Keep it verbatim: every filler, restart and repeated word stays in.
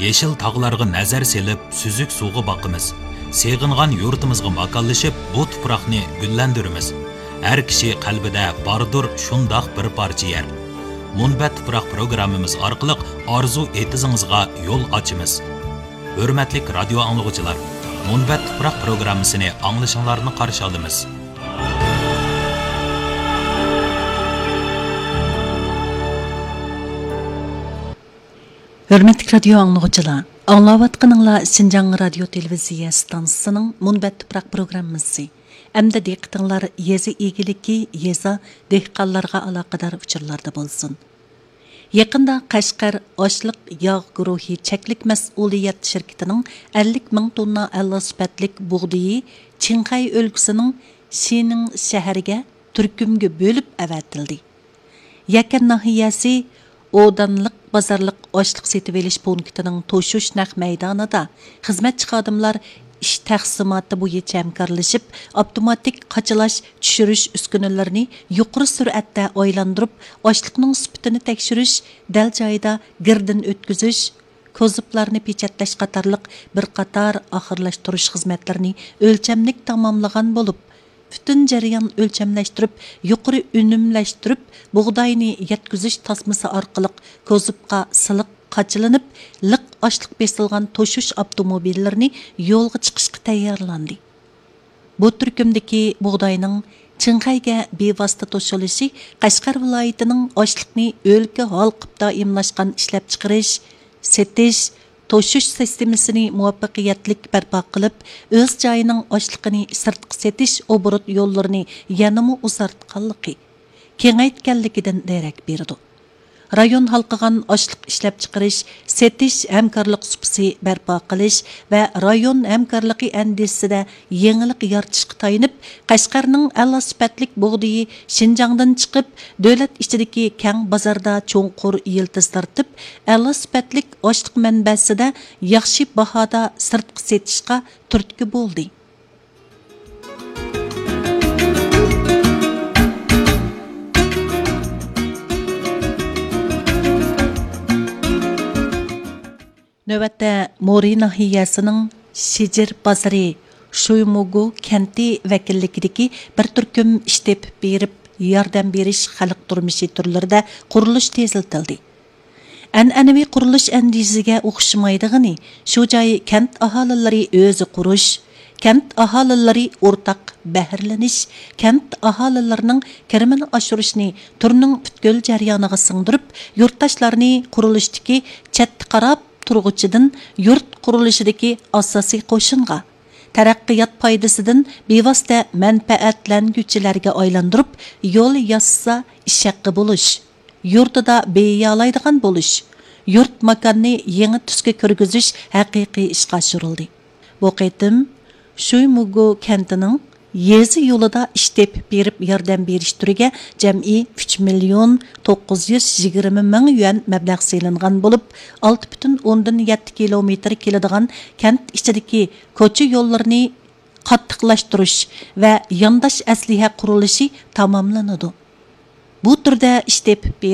يېشىل تاغلارغا نەزەر سېلىپ، سۈزۈك سۇغا باقىمىز. سېغىنغان يۇرتىمىزغا ماكانلىشىپ، بۇ تۇپراقنى گۈللەندۈرىمىز. ھەر كىشى قەلبىدە باردۇر شۇنداق بىر پارچە يەر. مۇنبەت تۇپراق پروگراممىمىز ئارقىلىق ئارزۇ ئېتىزىڭىزغا يول ئاچىمىز. ھۆرمەتلىك رادىيو ئاڭلىغۇچىلار، مۇنبەت تۇپراق پروگراممىسىنى ئاڭلىشىڭلارنى قارشى ئالىمىز. ھۆرمەتلىك رادىيو ئاڭلىغۇچىلار، ئاڭلاۋاتقىنىڭلار شىنجاڭ رادىيو تېلېۋىزىيە ئىستانسىسىنىڭ مۇنبەت تۇپراق پروگراممىسى. ئەمدى دىققىتىڭلار يېزا ئىگىلىكى، يېزا، دېھقانلارغا ئالاقىدار ئۇچۇرلاردا بولسۇن. يېقىندا قەشقەر ئاشلىق ياغ گۇرۇھى چەكلىك مەسئۇلىيەت شىركىتىنىڭ ئەللىك مىڭ توننا ئەلا سۈپەتلىك بۇغدىيى چىڭخەي ئۆلكىسىنىڭ شىنىڭ شەھىرىگە تۈركۈمگە بۆلۈپ ئەۋەتىلدى. يەكەن ناھىيەسى ئودانلىق بازارلىق ئاشلىق سېتىۋېلىش پونكىتىنىڭ توشۇش نەق مەيدانىدا خىزمەتچى خادىملار ئىش تەقسىماتى بويىچە ھەمكارلىشىپ، ئاپتوماتىك قاچىلاش، چۈشۈرۈش ئۈسكۈنىلىرىنى يۇقىرى سۈرئەتتە ئايلاندۇرۇپ، ئاشلىقنىڭ سۈپىتىنى تەكشۈرۈش، دەل جايىدا گىردىن ئۆتكۈزۈش، كوزۇپلارنى پېچەتلەش قاتارلىق بىر قاتار ئاخىرلاشتۇرۇش خىزمەتلىرىنى ئۆلچەملىك تاماملىغان بولۇپ، پۈتۈن جەريان ئۆلچەملەشتۈرۈپ، يۇقىرى ئۈنۈملەشتۈرۈپ، بۇغداينى يەتكۈزۈش تاسمىسى ئارقىلىق كوزۇپقا سىلىق قاچىلىنىپ، لىق ئاشلىق بېسىلغان توشۇش ئاپتوموبىللىرىنى يولغا چىقىشقا تەييارلاندى. بۇ تۈركۈمدىكى بۇغداينىڭ چىڭخەيگە بىۋاسىتە توشۇلۇشى قەشقەر ۋىلايىتىنىڭ ئاشلىقنى ئۆلكە ھالقىپ دائىملاشقان ئىشلەپچىقىرىش، سېتىش، توشۇش سىستېمىسىنى مۇۋەپپەقىيەتلىك بەرپا قىلىپ، ئۆز جايىنىڭ ئاشلىقىنى سىرتقا سېتىش ئوبوروت يوللىرىنى يەنىمۇ ئۇزارتقانلىقى، كېڭەيتكەنلىكىدىن دېرەك بېرىدۇ. رايون ھالقىغان ئاشلىق ئىشلەپچىقىرىش، سېتىش ھەمكارلىق سۇپىسى بەرپا قىلىش ۋە رايون ھەمكارلىقى ئەندىزىسىدە يېڭىلىق يارىتىشقا تايىنىپ، قەشقەرنىڭ ئەلا سۈپەتلىك بۇغدىيى شىنجاڭدىن چىقىپ، دۆلەت ئىچىدىكى كەڭ بازاردا چوڭقۇر يىلتىز تارتىپ، ئەلا سۈپەتلىك ئاشلىق مەنبەسىدە ياخشى باھادا سىرتقا سېتىشقا تۈرتكە بولدى. نۆۋەتتە مورى ناھىيەسىنىڭ شىجىر بازىرى شۇيمۇگۇ كەنتى ۋەكىللىكىدىكى بىر تۈركۈم ئىش تېپىپ بېرىپ ياردەم بېرىش خەلق تۇرمۇشى تۈرلىرىدە قۇرۇلۇش تېزلىتىلدى. ئەنئەنىۋى قۇرۇلۇش ئەندىزىسىگە ئوخشىمايدىغىنى، شۇ جاي كەنت ئاھالىلىرى ئۆزى قۇرۇش، كەنت ئاھالىلىرى ئورتاق بەھرىلىنىش، كەنت ئاھالىلىرىنىڭ كىرىمىنى ئاشۇرۇشنى تۈرنىڭ پۈتكۈل جەريانىغا سىڭدۈرۈپ، يۇرتداشلارنى قۇرۇلۇشتىكى چەتتە قاراپ تۇرغۇچىدىن يۇرت قۇرۇلۇشىدىكى ئاساسىي قوشۇنغا، تەرەققىيات پايدىسىدىن بىۋاسىتە مەنپەئەتلەنگۈچىلەرگە ئايلاندۇرۇپ، يول ياسىسا ئىش ھەققى بولۇش، يۇرتىدا بېيىيالايدىغان بولۇش، يۇرت ماكاننى يېڭى تۈسكە كىرگۈزۈش ھەقىقىي ئىشقا ئاشۇرۇلدى. بۇ قېتىم شۇيمۇگۇ كەنتىنىڭ يېزا يولىدا ئىش تېپىپ بېرىپ ياردەم بېرىش تۈرىگە جەمئىي ئۈچ مىليون توققۇز يۈز يىگىرمە مىڭ يۈەن مەبلەغ سېلىنغان بولۇپ، ئالتە پۈتۈن ئوندىن يەتتە كىلومېتىر كېلىدىغان كەنت ئىچىدىكى كوچا يوللىرىنى قاتتىقلاشتۇرۇش ۋە يانداش ئەسلىھە قۇرۇلۇشى تاماملىنىدۇ. بۇ تۈردە ئىش تېپىپ بېرىپ،